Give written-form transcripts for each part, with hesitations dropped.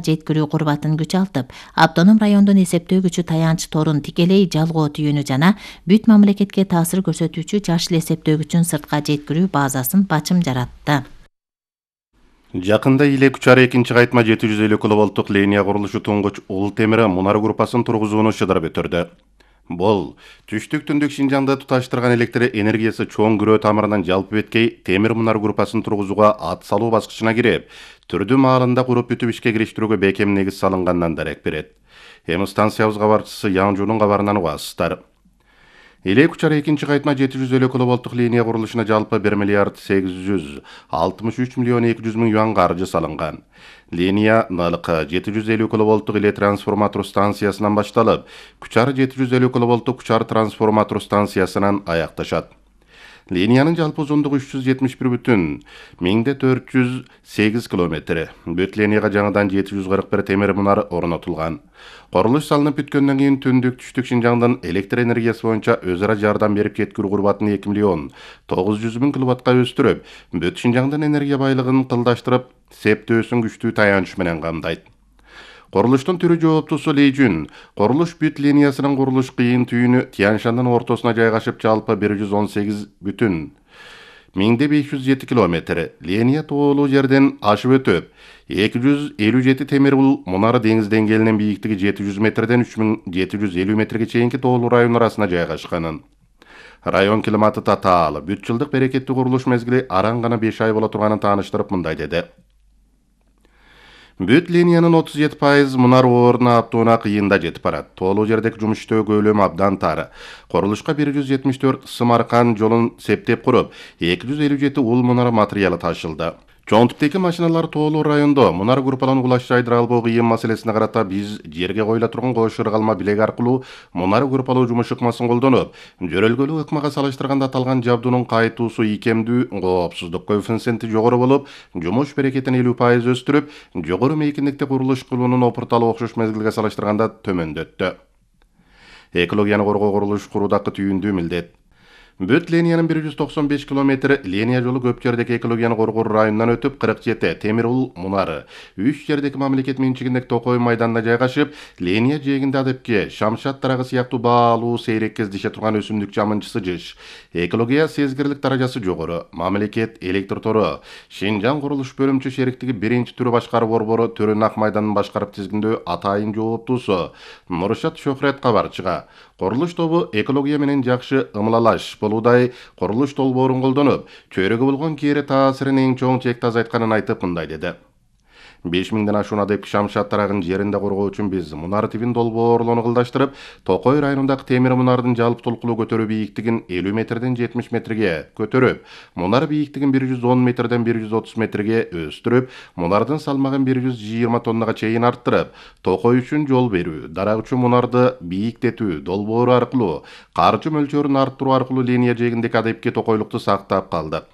жеткирүү курбатын күчалтып, автоном райондун эсептөөгүчү таянч торун тикелей жалгоо түйүнү жана бүт мамлекетке таасир көрсөтүүчү жашыл эсептөөгүчүн сыртка жеткирүү базасын бачым жаратты. Жакында Иле Күчары 2-кайтма 750 киловолттук линия курулушу туңгуч Ул темир мунар группасын тургузууну шыдырып өтөрдү. Бул түштүк-түндүк Шинжаңды туташтырган электр энергиясы чоң күрөө тамырынан жалпы беткей темир мунар группасын тургузууга ат салуу баскычына кирип, түрдүү маалында куруп бүтүп ишке кириштирүүгө бекем негиз салынгандан дарек берет. Эми станциябыз кабарчысы Яңжунун кабарынан угасыздар. Иле Күчары 2-кайтма 750 киловолттук линия курулушуна жалпы 1 миллиард 863 миллион 200 миң юан каржы салынган. Линия налыкы 750 киловолттук Иле трансформатор станциясынан башталып, Күчары 750 киловолттук Күчары трансформатор станциясынан аякташат. Линиянын жалпы узундугу 370,408 километр. Бүт линияга жаңыдан 741 темир мунар орнотулган. Курулуш салынып бүткөндөн кийин түндүк түштүк Шинжаңдын электр энергиясы боюнча өз ара жардам берип кеткирүү курбатын 2 миллион 900 миң киловаттка өстүрүп, бүт Шинжаңдын энергия байлыгын кылдаштырып, септөөсүн күчтүү таянч менен камдайт. Курулуштун түрү жооптусу Ли Жун, курулуш бүт линиясынын курулуш кыйын түйүнү Тяншандын ортосуна жайгашып жалпы 118,507 километр. Линия тоолуу жерден ашып өтүп, 257 темир мунары деңиз деңгээлинин бийиктиги 700 метрден 3750 метрге чейинки тоолуу район арасына жайгашканын. Район климаты татаал, бүт жылдык берекеттүү курулуш мезгили араң гана 5 ай боло турганын тааныштырып мындай деди. Бүт линиянын 37% мунар ордуна аптууна кыйында жетип барат. Тоолуу жердеги жумуштөө көлөмү абдан тар. Курулушка 174 сымаркан жолун септеп куруп, 257 ул мунар материалы ташылды. Чоң типтеги машиналар тоолуу райондо мунар группалануу кулаш жайдыра албоо кыйын маселесине карата биз жерге коюла турган кош ыргалма билек аркылуу мунар группалоо жумуш ыкмасын колдонуп, жөрөлгөлүү ыкмага салыштырганда аталган жабдуунун кайтуусу ийкемдүү, коопсуздук коэффициенти жогору болуп, жумуш берекетин 50% өстүрүп, жогору мейкиндикте курулуш кылуунун опурталуу окшош мезгилге салыштырганда төмөндөттү. Экологияны коргоо курулуш куруудагы түйүндүү милдет. Бүт линиянын 195 километр линия жолу көп жердеги экологияны коргоо районунан өтүп, 47 темир мунары 3 жердеги мамлекет менчигиндеги Токой майданына жайгашып, линия жээгинде адепке шамшат дарагы сыяктуу баалуу сейрек кездеше турган өсүмдүк жамынчысы жыш. Экология сезгирлик даражасы жогору. Мамлекет электр тору Шинжаң курулуш бөлүмчө шериктиги 1-түрү башкаруу борбору Төрөн Ак майданын башкарып тизгиндөө атайын жооптуусу Нуршат Шөхрет кабарчыга курулуш тобу экология менен жакшы ымлалаш болуудай курулуш долбоорун колдонуп, чөйрөгө болгон кээре таасирин эң чоң чекти азайтканын айтып мындай деди. 5000ден ашуун адепки шамшат дарагын жеринде коргоо үчүн биз мунар тибин долбоорлоону кылдаштырып, Токой районундагы темир мунардын жалпы толкулуу көтөрүү бийиктигин 50 метрден 70 метрге көтөрүп, мунар бийиктигин 110 метрден 130 метрге өстүрүп, мунардын салмагын 120 тоннага чейин арттырып, Токой үчүн жол берүү, дарак үчүн мунарды бийиктетүү долбоору аркылуу, каржы мөлчөрүн арттыруу аркылуу линия жээгиндеги адепки токойлукту сактап калдык.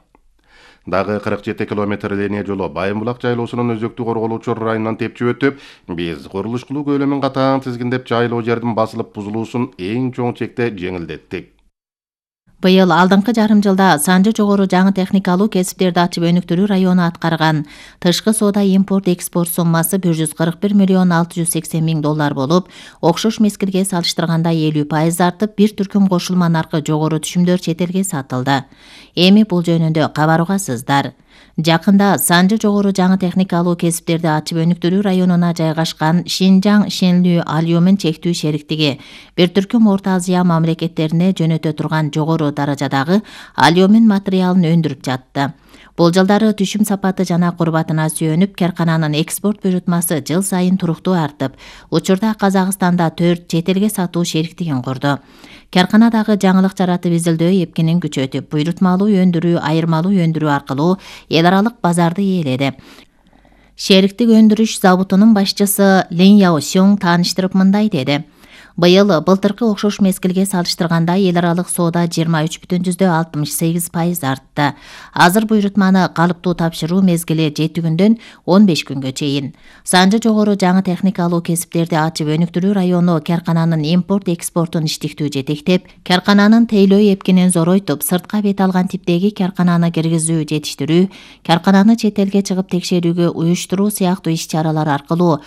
Дагы 47 километр линия жолу Байымбулак жайлоосунун өзөктүү корголуучу районунан тепчип өтүп, биз курулуш кылуу көлөмүн катаң тизгиндеп жайлоо жердин басылып бузулуусун эң чоң чекте жеңилдеттик. Быйыл алдыңкы жарым жылда санжы жогору жаңы техникалуу кесиптерди ачып өнүктүрүү району аткарган тышкы соода импорт-экспорт суммасы 141 миллион 680 миң доллар болуп, окшош мезгилге салыштырганда 50% артып, бир түркүм кошулма наркы жогору түшүмдөр чет элге сатылды. Эми бул жөнүндө кабар угасыздар. Жакында санжы жогору жаңы техникалуу кесиптерди ачып өнүктүрүү районуна жайгашкан Шинжаң Шенлүү алюмин чектүү шериктиги бир түркүм Орто Азия мамлекеттерине жөнөтө турган жогору даражадагы алюмин материалын өндүрүп жатты. Бул жылдары түшүм сапаты жана курбатына сүйөнүп, каркананын экспорт буйрутмасы жыл сайын туруктуу артып, учурда Казакстанда 4 чет элге сатуу шериктигин курду. Карканадагы жаңылык жаратып изилдөө эпкинин күчөтүп, буйрутмалуу өндүрүү, айырмалуу өндүрүү аркылуу эл аралык базарды ээледи. Шериктик өндүрүш заводунун башчысы Лин Яосюң тааныштырып мындай деди. Быйыл былтыркы окшош мезгилге салыштырганда эл аралык соода 23,68% артты. Азыр буйрутманы калыптуу тапшыруу мезгили 7 күндөн 15 күнгө чейин. Санжы жогору жаңы техникалуу кесиптерди ачып өнүктүрүү району каркананын импорт-экспортун иштиктүү жетектеп, каркананын тейлөө эпкинин зоройтуп, сыртка бет алган типтеги каркананы киргизүү, жетиштирүү, каркананы чет элге чыгып текшерүүгө уюштуруу сыяктуу иш-чаралар аркылуу